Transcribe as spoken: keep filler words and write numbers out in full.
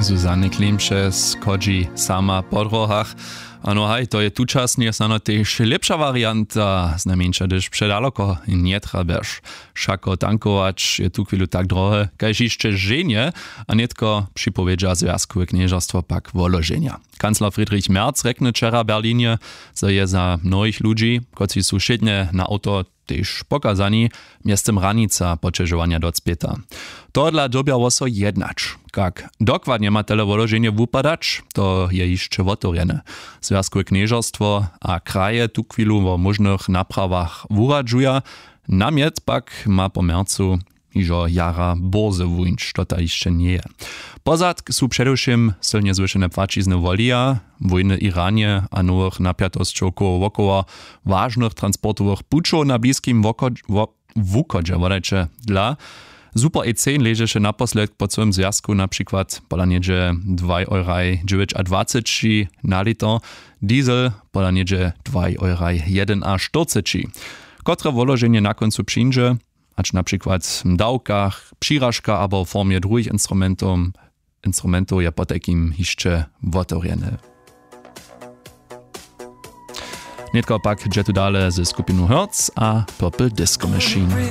Susanny Klimše schodźi sama po dróhach. Ano haj, to je tučasnje snano tež lěpša warianta, znajmjeńša hdyž předaloko njetrjebješ. Wšako tankować je tuchwilu tak drohe kaž hišće ženje. A nětko připowědźa zwjazkowe knježerstwo pak woloženja. Kancler Friedrich Merz rjekny wčera w Berlinje, zo je za mnohich ludźi, kotřiž su wšědnje na awto tež pokazani, mjeztym hranica poćežowanja docpěta. Tohodla dyrbjało so jednać. Kak dokładnje ma tele woloženje wupadać, to je hišće wotewrjene. Zwjazkowe knježerstwo a kraje tuchwilu wo móžnych naprawach wuradźuja. Namjet pak ma po mjercu hižo jara bórze wuńć, to ta hišće njeje. Pozadk su předewšěm sylnje zwyšene płaćizny wolija, wójny w Iranje a nowych napjatosćow koło wokoło wažnych transportowych pućow na bliskim wuchodźe wodajće dla. Super ecen ležeše naposledk po cyłym zwjazku na přikład pola něhdźe dwaj euraj dźewjećadwaceći na liter, diesel pola něhdźe dwaj euraj jedynaštyrceći. Kotre woloženje na kóncu přińdźe, hač na přikład w dawkach, přiražka abo w formje druhich instrumentow instrumentow je potajkim hišće wotewrjene. Nětko pak dźe tu dale ze skupinu Hertz a Purple Disco Machine.